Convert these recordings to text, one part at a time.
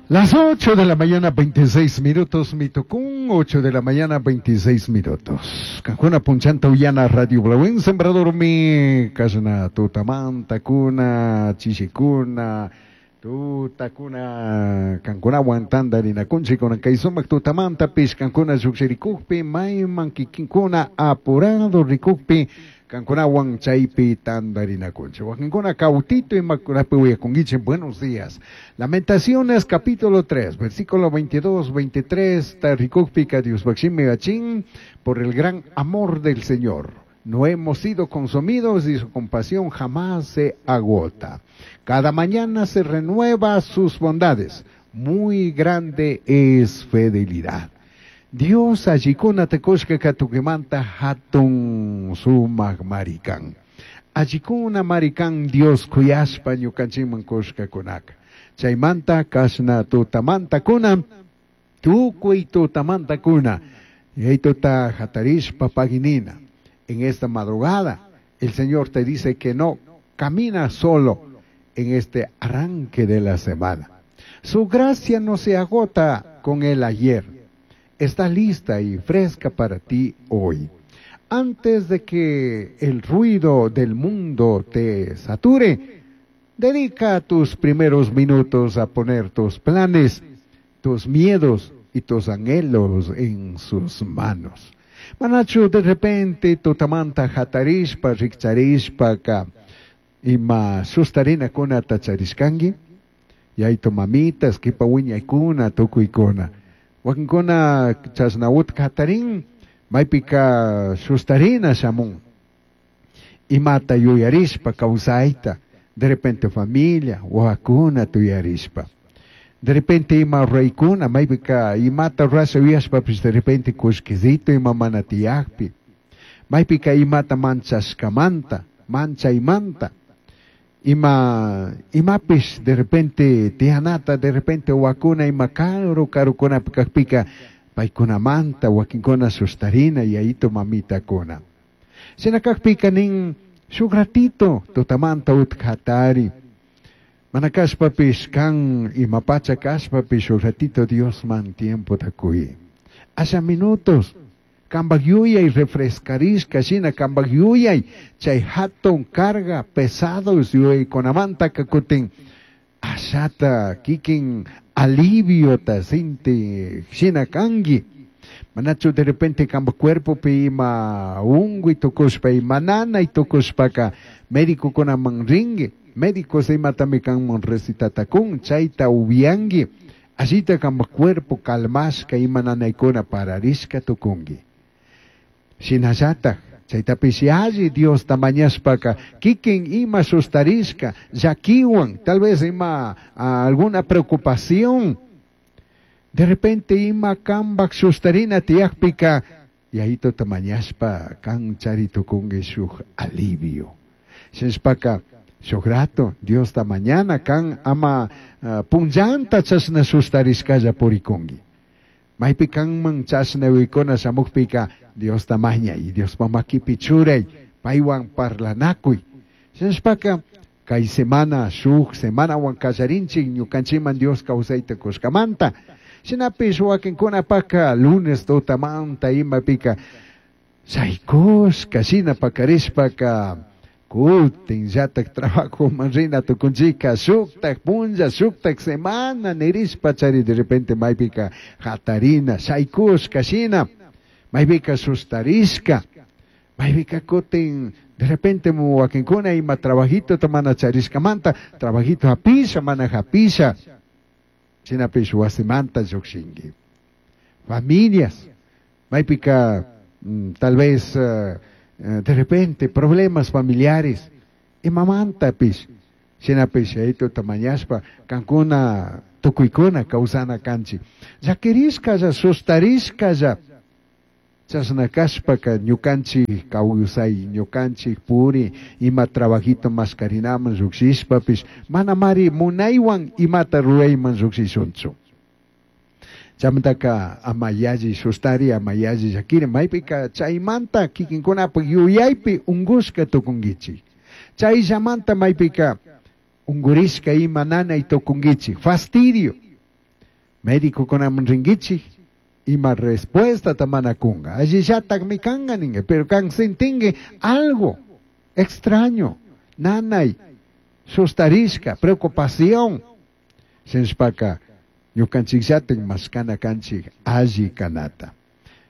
Las 8 de la mañana, 26 minutos, Mitocún, 8 de la mañana, 26 minutos. Cancuna Punchanta Uyana Radio Blauén, Sembrador mi, Casna Tutamanta, Cuna, Chichicuna, Tutakuna, Cancuna Guantanda, Rinacunchi, con Kaisumac Tutamanta, Pishcancuna, Yuxiricujpi, Mayman, Kikinkuna, Apurado, Ricujpi, Cancunawan chaypi tandarinakunchi. Wakinkuna cautito y macunapi uyakunguichi. Buenos días. Lamentaciones capítulo 3, versículo 22, 23, Taricujpica Dios gachín, por el gran amor del Señor. No hemos sido consumidos y su compasión jamás se agota. Cada mañana se renueva sus bondades. Muy grande es fidelidad. Dios allikuna tekushka katukimanta hatun sumak marikan. Allikuna marikan Dios kuyashpa ñukanchikman kushkakunaka. Chaymanta kashna tutamanta kuna, tukuy tutamanta kuna. Y tuta hatarishpa paginina. En esta madrugada, el Señor te dice que no camina solo en este arranque de la semana. Su gracia no se agota con el ayer. Está lista y fresca para ti hoy. Antes de que el ruido del mundo te sature, dedica tus primeros minutos a poner tus planes, tus miedos y tus anhelos en sus manos. Manachu, de repente, tutamanta hatarishpa, rikcharishpa, ka, ima sustarina kuna tacharishkangi, yayto mamitas, kipa wiñaykuna, tukuykuna. Wakinkuna chasnawut hatarin, maypika sustarina shamun. Imata yuyarishpa kawsayta, de repente familia, wawakuna tuyarishpa. De repente ima raykuna, maypika imata rurasha yuyashpapis de repente kushkisito ima mana tiyakpi. Maypika imata manchashkamanta, manchaymanta. Ima, imapish de repente tiyanata, de repente wakuna ima karu karukunapi kakpika paykunamanta wakinkuna sustarina yayito mamitakuna. Shina kakpika nin shuk ratito tutamanta utkatari. Mana kashpapish kan imapacha kashpapish shuk ratito Diosman tiempo takuy. Asha minutos. Kambak yuyay refrescarishka shina kambak yuyay chay hatun carga pesados yuyaykunamanta kakutin ashata kikin aliviota sinti shina kanki. Manachu de repente kambak cuerpopi ima unguy tukushpa ima nanay tukushpaka médicokunaman rinki, médicos imatami kanman recitatakun chayta upianki, allita kambak cuerpo calmashka ima nanaykuna pararishka tukunki. Shinallataj chaytapish alli Diosta mañashpaka kikin ima sustarishka llakiwan, tal vez ima alguna preocupación, de repente ima kambak sustarina tiyakpika yayituta mañashpa kan chari tukunki shuk alivio. Shinashpaka shuk rato Diosta mañana kan ama punllanta chashna sustarishkalla purikunki. Maypi kanman chashna uykuna shamukpika Diosta mañay, Diospa makipi churay, paywan parlanakuy. Shinashpaka kay semana shuk semanawan kallarinchik ñukanchikman Dios kawsayta kushkamanta. Shinapish wakinkunapaka lunes tutamanta imapika shaykushka shina pakarishpaka kutin llatak trabajoman rina tukunchika shuktak punlla shuktak semana nirishpa chari de repente maypika hatarina shaykushka shina maypika sustarishka maypika kutin de repente wakinkuna ima trabajito mana charishkamanta trabajito hapisha mana hapisha shinapish wasimanta llukshinki. Familias maypika tal vez de repente problemas familiares imamantapish shinapish chaytuta mañashpa kankuna tukuykuna kawsana kanchik llakirishkalla sustarishkalla chashna kashpaka ñukanchik kawsay ñukanchik puri ima trabajito maskarinaman llukshishpapish manamari munaywan imata rurayman llukshishunchu. Chamantaka ama yalli sustari ama yalli llakiri maypika chaymanta kikinkunapak yuyaypi ungushka tukunkichik. Chayllamanta maypika ungurishka ima nanay tukunkichik fastidio. Médicokunaman rinkichik, ima respuestata mana kunga. Allillatakmi kanka ninga, pero kan sintinki algo extraño, nanay, sustarishka, preocupación. Shinashpaka ñukanchikllatik mashkana kanchik alli kanata.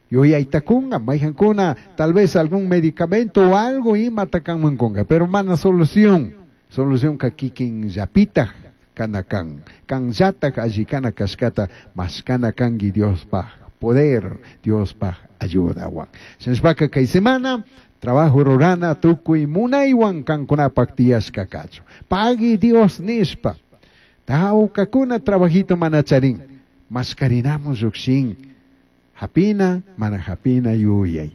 Yuyayta kunga, mayhankuna tal vez algún medicamento o algo imata kanman kunga, pero mana solución. Solución ka kikin llapitaj kana kan. Kanllatak alli kana kashkata mashkana kanki Diospaj poder, Diospaj ayudawan. Shinashpaka kay semana trabajo rurana tukuy munaywan kankunapak tiyashka kachun. Pagui Dios nishpa. Tawkakuna trabajito mana charin. Mashkarinamun llukshin. Hapina, mana hapina yuyay.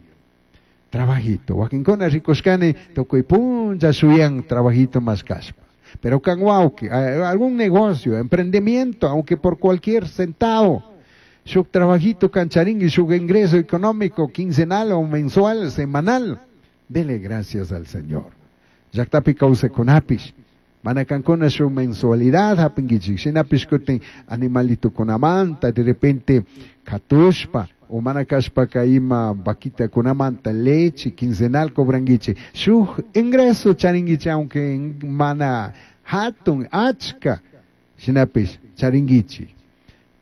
Trabajito. Wakinkuna rikushkani tukuy punlla shuyan trabajito mashkashpa. Pero kan wawki, algún negocio, emprendimiento, aunque por cualquier centavo, shuk trabajito kancharin y shuk ingreso económico quincenal o mensual, semanal, dele gracias al Señor. Llaktapi kawsakunapish, mana kankuna shuk mensualidad hapinkichik, shinapish kutin animalitokunamanta, de repente katushpa, o mana kashpaka ima vaquitakunamanta leche quincenal cobranguichik, shuk ingreso charinguichik, aunque mana hatun achka, shinapish charinguichik.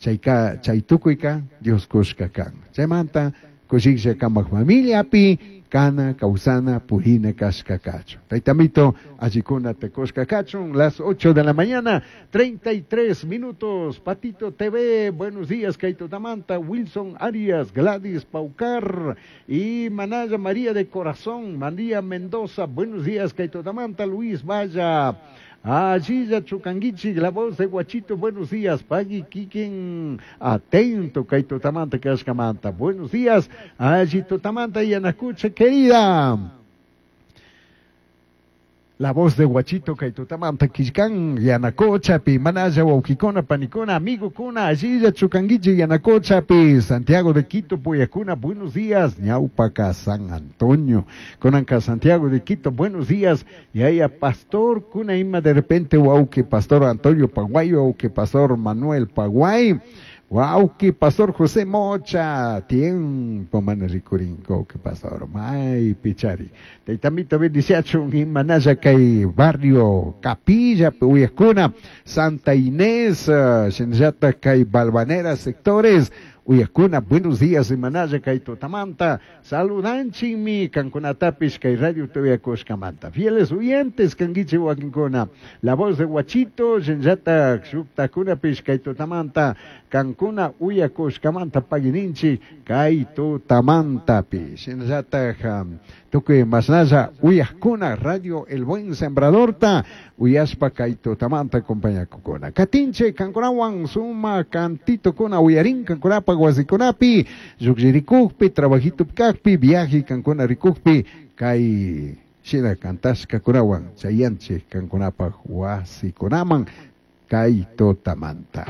Chayka, chay tukuyka Dios kushka kan. Chaymanta kushiklla kamak familiapi kana kawsana purina kashka kachun. Taytamito allikuna te kushka kachun, las 8 de la mañana, 33 minutos. Patito TV, buenos días, Kaito Tamanta, Wilson Arias, Gladys Paucar y Manaya María de Corazón, María Mendoza, buenos días, Kaito Tamanta, Luis Vaya. Allí Chucanguichi, la voz de Guachito, buenos días, Pagui Kikin, atento, Kaito Tamanta, Kashkamanta, buenos días, allí Tamanta y Anacucha, querida. La voz de Guachito, Kaito Tamanta, Kishkan, Yanacocha, pi, Manaya, Wauquicona, Panicona, amigo Cuna, allí Chucanguichi, Yanacocha, pi, Santiago de Quito, Puyacuna, buenos días, Ñaupaca, San Antonio, Conanca, Santiago de Quito, buenos días, y ahí a Pastor Cuna, Ima, de repente, Wauqui, Pastor Antonio Paguay, Wauqui, Pastor Manuel Paguay, Wauqui, Pastor José Mocha, tiempo mana rikurinko, que pastor, may pichari. Taytamito bendiciachun, imanaya kay barrio Capilla, Uyascuna, Santa Inés, Shinllata kay Balvanera sectores, Uyascuna, buenos días, imanaya kay Totamanta, saludanchinmi, kankunatapish kay Radio TV Kushkamanta. Fieles oyentes, kanguichi wakinkuna, la voz de Guachito, Shinllata shuktakunapish kay Totamanta, kankuna uyakushkamanta pagininchi kay Totamantapi. Shinllata tukuy masnalla uyajkuna Radio El Buen Sembradorta, uyashpa kay Totamanta compañakukuna. Katinche kankunawan suma cantito kuna uyarin kankunapa wasikunapi, lluklririkukpi, trabajito kakpi, viaje kankuna rikukpi, kay shina kantashka kunawan chayanchik kankunapa wasikunaman kay Totamanta.